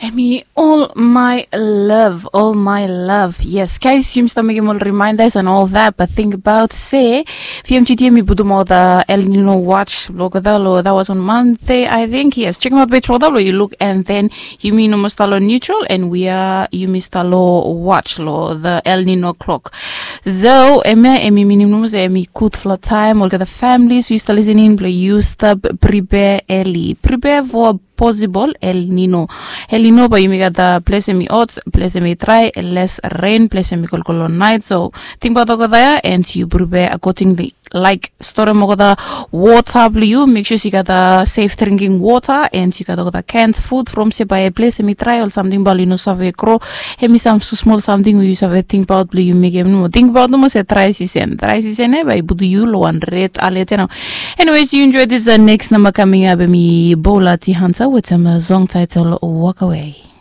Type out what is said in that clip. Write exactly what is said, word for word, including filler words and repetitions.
Em i all my love, all my love. Yes, guys, yumi stap mekim ol reminders and all that, but think about se V M G T em i putum ol the El Nino watch blong olgeta lo that was on Monday, I think. Yes, check out page for that lo yu look, and then yumi no mo stap lo neutral, and we are yumi stap lo watch lo the El Nino clock. So em ya em i minim nomo se em i gudfala taem olgeta families yu stap listening blong yu stap prepare early, prepare for possible El Nino. El Nino bae yumi gat ples em i hot, ples em i dry, less rain, ples em i kolkol long night. So tingbaot olgeta ya and yu prepare accordingly. Like storem olgeta wota blong yu, make sure se yu gat safe drinking water and yu gat olgeta canned food from se bae ples em i dry ol samting bae ol i no save gro. Em i sam smol samting we yu save tingbaot blong yu mekem nomo. Tingbaot nomo se dry season, dry season ya bae i putum yu long wan red alert ya nao. Anyways, yu enjoy this uh, next number coming up. Em i Bola T Hunter wetem song title Walk Away.